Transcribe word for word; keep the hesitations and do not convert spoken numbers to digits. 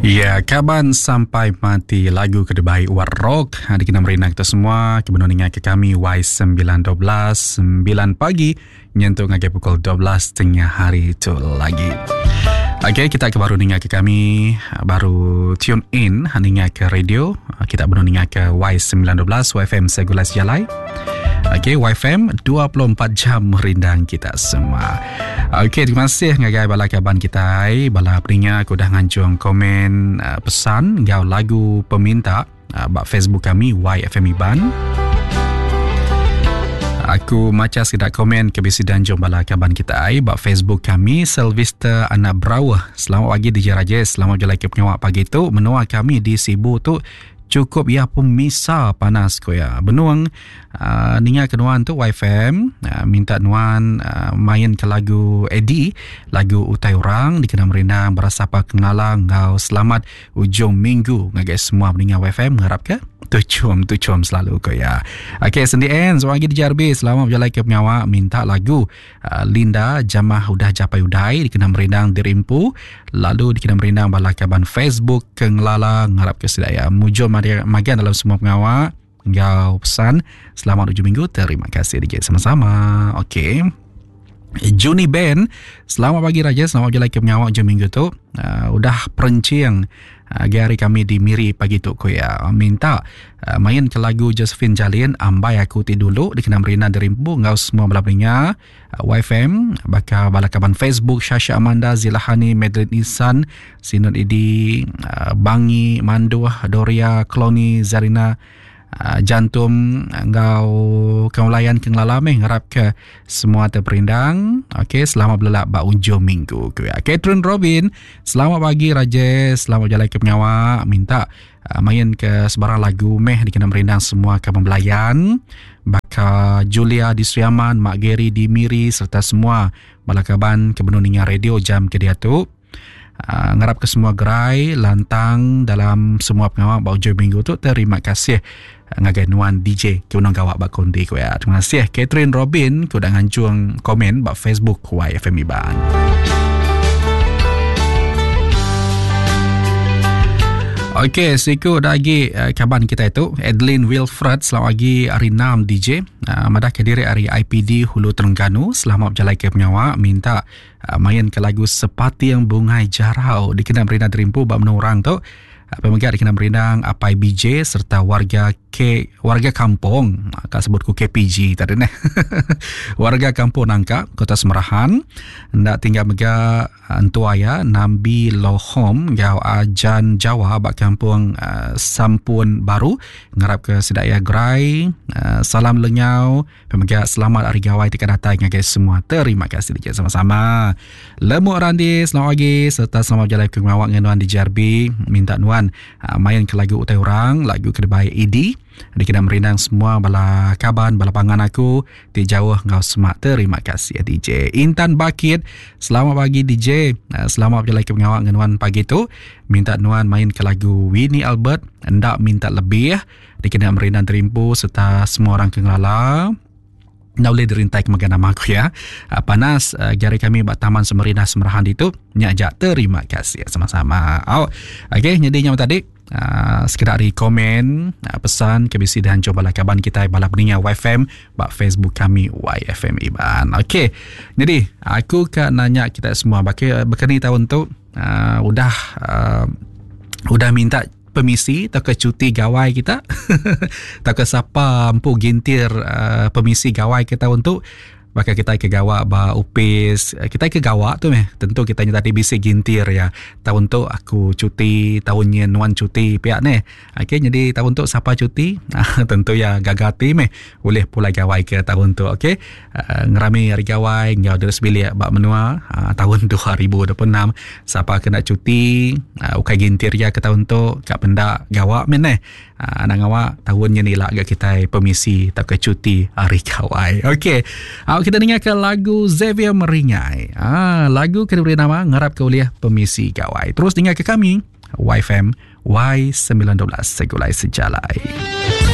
Ya, kaban sampai mati lagu ke dibai War Rock dikena merindang kita semua ke benung ninga ke kami Y sembilan dua belas sembilan pagi nyentuk ngagai pukul dua belas tengah hari tu lagi. Okey, kita ke baru ninga ke kami baru tune in ninga ke radio, kita benung ninga ke Y sembilan dua belas Y F M Segulai Sejalai. Okey, Y F M dua puluh empat jam merindang kita semua. Okey, terima kasih ngagai bala kaban kita, bala peninga aku dah nganjung komen pesan ngau lagu peminta ba Facebook kami Y F M Iban. Aku maca sekedak komen ke bisi danjung bala kaban kita ba Facebook kami. Sylvester Anak Brauh, selamat pagi D J Rajesh, selamat berjalan ke pengawak pagi tu. Menua kami di Sibu tu cukup ya pemisa panas ko ya. Benuang uh, ninga ke nuan tu Y F M uh, minta nuan uh, main ke lagu Eddie, lagu Utai Orang dikena merindang berasapa kengalang ngau selamat ujung minggu ngagai semua peninga Y F M ngarap ke tucum tucum selalu ko ya. Okey, sendi en seorang lagi di J R B, selamat berjalan ke pengawak minta lagu uh, Linda Jamah Udah Japai Udai dikena merindang dirimpu, lalu dikena merindang bala kaban Facebook ke ngelala ngarap ke sedaya mujur magan dalam semua pengawak ngau pesan selamat ujung minggu. Terima kasih D J, sama-sama. Okey, Juni Ben, selamat pagi Raja, selamat berjalan ke pengawak ujung minggu tu. Uh, udah perencing uh, hari kami di Miri pagi tu ko ya. Minta uh, main ke lagu Josephine Jalin Ambai Aku Ti Dulu dikena merina derimpu ngau semua bala peninga uh, Y F M bakal bala kaban Facebook Shasha Amanda, Zilahani, Madeline Isan, Sinun Idi, uh, Bangi Manduh, Doria, Kloni, Zarina, Uh, jantum ngau kaulayan ke ngelala meh ngarap ke semua terperindang. Okey, selamat berlelak ba ujung minggu ke ya. Catherine Robin, selamat pagi Rajesh, selamat jalan ke pengawak minta uh, main ke sebarang lagu meh dikena merindang semua ke pembelayan baka Julia di Sriaman, Mak Gary di Miri serta semua bala kaban ke benung ninga radio jam ke dia tu. Uh, ngarap ke semua gerai lantang dalam semua pengawak ba ujung minggu tu. Terima kasih ngagai nuan D J ke unang gawak ba kondi ko ya. Terima kasih Catherine Robin ke udah nganjung komen ba Facebook Y F M Iban. Okey, siku lagi uh, kaban kita itu Adeline Wilfred, selamat pagi hari enam D J. Uh, madah ke diri hari I P D Hulu Terengganu, selamat berjalan ke pengawak minta uh, main ke lagu Sepati Yang Bungai Jarau dikena merindang terimpu bab menurang orang tu. Pemegat dikena merindang Apai B J serta warga K, warga kampung, kak sebutku K P G tadi ni. Warga kampung Nangka, Kota Semerahan. Ndak tinggal mega entua ya Nambi Lohom gau Ajan Jawa bak kampung uh, Sampun Baru. Ngarap ke sedaya gerai, uh, salam lenyau, pemegat selamat hari gawai tika datang ngagai semua. Terima kasih DJ sama-sama. Lemuk Randi, selamat pagi serta selamat berjalan ke ngawak dengan nuan di J R B. Minta nuan uh, main ke lagu Utai Orang, lagu Kedebai E D. Dikena merindang semua bala kaban, bala pangan aku ti jauh ngau semak. Terima kasih D J. Intan Bakit, selamat pagi D J. Selamat berjalan ke pengawak dengan nuan pagi tu. Minta nuan main ke lagu Winnie Albert, hendak minta lebih. Dikena merindang terimpu serta semua orang ke ngelala. Nak boleh dirintai ke makan nama aku ya. Panas jari kami buat Taman Semerina Semerahan itu. Nyak jak terima kasih sama-sama. Oh, okey, jadi nyam tadi Uh, sekedar dari komen uh, pesan ke B C dan coba lah kaban kita bala peninga Y F M bak Facebook kami Y F M Iban. Okey, jadi aku ka nanya kita semua baki berkeni tahun tu uh, udah uh, udah minta permisi atau ke cuti gawai kita atau ke siapa empu gintir uh, permisi gawai kita untuk bakal kita ke gawak ba upis, kita ke gawak tu meh tentu kita nya tadi bisi gintir ya. Tahun tu aku cuti, tahunnya nuan cuti pihak ni. Okey, jadi tahun tu siapa cuti? Tentu ya gagati meh boleh pulai gawai ke tahun tu. Okey, uh, ngerami hari gawai ngau terus bilik bak menua uh, tahun dua ribu dua puluh enam siapa kena cuti uh, ukai gintir ya ke tahun tu kak pendak gawak men eh. Uh, anak awak tahunnya ni lah agak kita permisi tak ke cuti hari gawai. Okey, uh, kita dengar ke lagu Xavier Meringai. Ah, lagu kena beri nama ngarap ke uliah permisi gawai. Terus dengar ke kami Y F M Y sembilan dua belas Segulai Sejalai.